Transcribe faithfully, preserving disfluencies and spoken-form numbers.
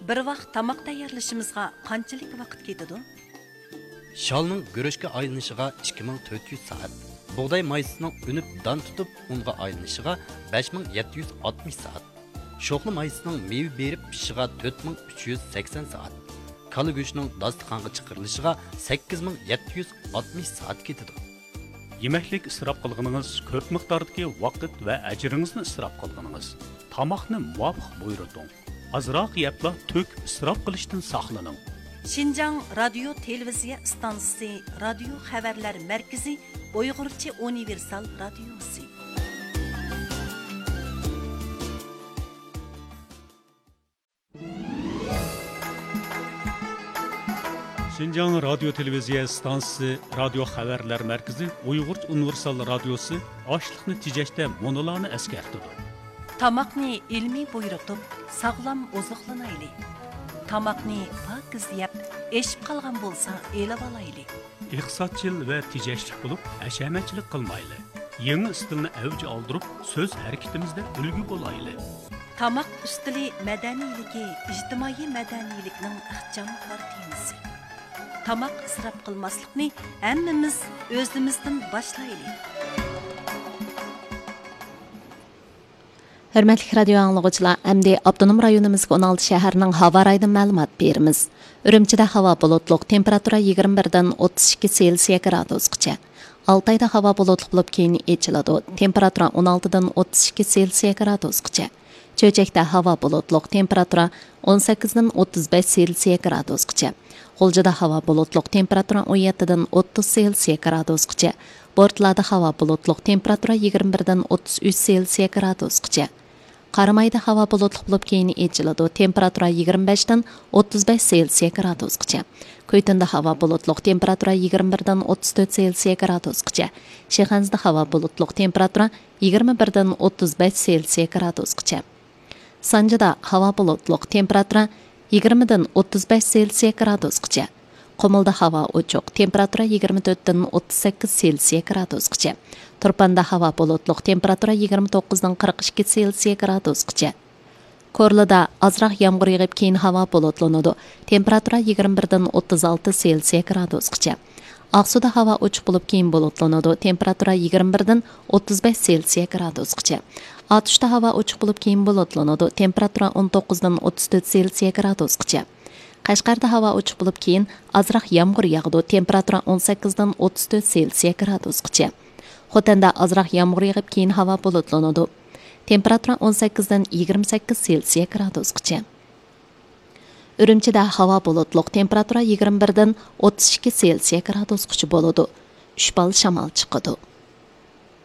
بىر ۋاق تاماق تەييارلىشىمىزغا قانچىلىك ۋاقىت كېتىدۇ؟ شالنىڭ گۈرۈچكە ئايلىنىشىغا ئىككى مىڭ تۆت يۈز سائەت، بۇغداي مايسىسىنىڭ ئۈنۈپ دان تۇتۇپ ئۇنغا ئايلىنىشىغا بەش مىڭ يەتتە يۈز ئاتمىش سائەت، شوخلا مايسىسىنىڭ مېۋە بېرىپ پىشىشىغا تۆت مىڭ ئۈچ يۈز سەكسەن سائەت، كالا گۆشىنىڭ داستىخانغا چىقىرىلىشىغا سەككىز مىڭ يەتتە يۈز ئاتمىش سائەت كېتىدۇ. يېمەكلىك ئىسراپ قىلغىنىڭىز، كۆپ مىقداردىكى ۋاقىت ۋە ئەجرىڭىزنى ئىسراپ قىلغىنىڭىز. تاماقنى مۇۋاپىق بۇيرۇتۇڭ. ئازراق يەپلا تۆكۈپ ئىسراپ قىلىشتىن ساقلىنىڭ. شىنجاڭ رادىيو تېلېۋىزىيە ئىستانسىسى رادىيو خەۋەرلەر مەركىزى ئۇيغۇرچە ئۇنىۋېرسال رادىيوسى. شىنجاڭ رادىيو تېلېۋىزىيە ئىستانسىسى رادىيو خەۋەرلەر مەركىزى ئۇيغۇرچە ئۇنىۋېرسال رادىيوسى ئاشلىقنى تېجەشتە مۇنۇلارنى ئەسكەرتىدۇ. تاماقنى ئىلمىي بۇيرۇتۇپ، ساغلام ئوزۇقلىنايلى. تاماقنى پاكىز يەپ، ئېشىپ قالغان بولسا ئېلىۋالايلى. ئىقتىسادچىل ۋە تېجەشلىك بولۇپ، ھەشەمەتچىلىك قىلمايلى. يېڭى ئىستىلنى ئەۋج ئالدۇرۇپ، سۆز ھەرىكىتىمىزدە ئۈلگە بولايلى. تاماق ئۈستىلى مەدەنىيلىكى ئىجتىمائىي مەدەنىيلىكنىڭ ئىخچام كارتىنىسى. تاماق ئىسراپ قىلماسلىقنى ھەممىمىز ئۆزىمىزدىن باشلايلى. ھۆرمەتلىك رادىيو ئاڭلىغۇچىلار، ئەمدى ئاپتونوم رايونىمىزدىكى ئون ئالتە شەھەرنىڭ ھاۋا رايىدىن مەلۇمات بېرىمىز. ئۈرۈمچىدە ھاۋا بۇلۇتلۇق، تېمپېراتۇرا يىگىرمە بىردىن ئوتتۇز ئىككى سېلسىيە گرادۇسقىچە. ئالتايدا ھاۋا بۇلۇتلۇق بولۇپ، كېيىن ئېچىلىدۇ، تېمپېراتۇرا ئون ئالتىدىن ئوتتۇز ئىككى سېلسىيە گرادۇسقىچە. چۆچەكتە ھاۋا بۇلۇتلۇق، تېمپېراتۇرا ئون سەككىزدىن ئوتتۇز بەش سېلسىيە گرادۇسقىچە. غۇلجىدا ھاۋا بۇلۇتلۇق، تېمپېراتۇرا ئون يەتتىدىن ئوتتۇز سېلسىيە گرادۇسقىچە. بورتالادا ھاۋا بۇلۇتلۇق، تېمپېراتۇرا يىگىرمە بىردىن ئوتتۇز ئۈچ سېلسىيە گرادۇسقىچە. قارامايدا ھاۋا بۇلۇتلۇق بولۇپ، كېيىن ئېچىلىدۇ، تېمپېراتۇرا يىگىرمە بەشتىن ئوتتۇز بەش سېلسىيە گرادۇسقىچە. كۈيتۇندا ھاۋا بۇلۇتلۇق، تېمپېراتۇرا يىگىرمە بىردىن ئوتتۇز تۆت سېلسىيە گرادۇسقىچە. شىخەنزىدە ھاۋا بۇلۇتلۇق، تېمپېراتۇرا يىگىرمە بىردىن ئوتتۇز بەش سېلسىيە گرادۇسقىچە. سانجىدا ھاۋا بۇلۇتلۇق، تېمپېراتۇرا يىگىرمىدىن ئوتتۇز بەش سېلسىيە گرادۇسقىچە. قۇمۇلدا ھاۋا ئوچۇق، تېمپېراتۇرا يىگىرمە تۆتتىن ئوتتۇز سەككىز سېلسىيە گرادۇسقىچە. تۇرپاندا ھاۋا بۇلۇتلۇق، تېمپېراتۇرا يىگىرمە توققۇزدىن قىرىق ئىككى سېلسىيە گرادۇسقىچە. كورلىدا ئازراق يامغۇر يېغىپ، كېيىن ھاۋا بۇلۇتلىنىدۇ، تېمپېراتۇرا يىگىرمە بىردىن ئوتتۇز ئالتە سېلسىيە گرادۇسقىچە. ئاقسۇدا ھاۋا ئوچۇق بولۇپ، كېيىن بۇلۇتلىنىدۇ، تېمپېراتۇرا يىگىرمە بىردىن ئوتتۇز بەش سېلسىيە گرادۇسقىچە. ئاتۇشتا ھاۋا ئوچۇق بولۇپ، كېيىن بۇلۇتلىنىدۇ، تېمپېراتۇرا ئون توققۇزدىن ئوتتۇز تۆت سېلسىيە گرادۇسقىچە. قەشقەردە ھاۋا ئوچۇق بولۇپ، كېيىن ئازراق يامغۇر ياغىدۇ، تېمپېراتۇرا ئون سەككىزدىن ئوتتۇز تۆت سېلسىيە گرادۇسقىچە. خوتەندە ئازراق يامغۇر يېغىپ، كېيىن ھاۋا بۇلۇتلىنىدۇ، تېمپېراتۇرا ئون سەككىزدىن يىگىرمە سەككىز سېلسىيە گرادۇسقىچە. ئۈرۈمچىدە ھاۋا بۇلۇتلۇق، تېمپېراتۇرا يىگىرمە بىردىن ئوتتۇز ئىككى سېلسىيە گرادۇسقىچە بولىدۇ. ئۈچ بال شامال چىقىدۇ.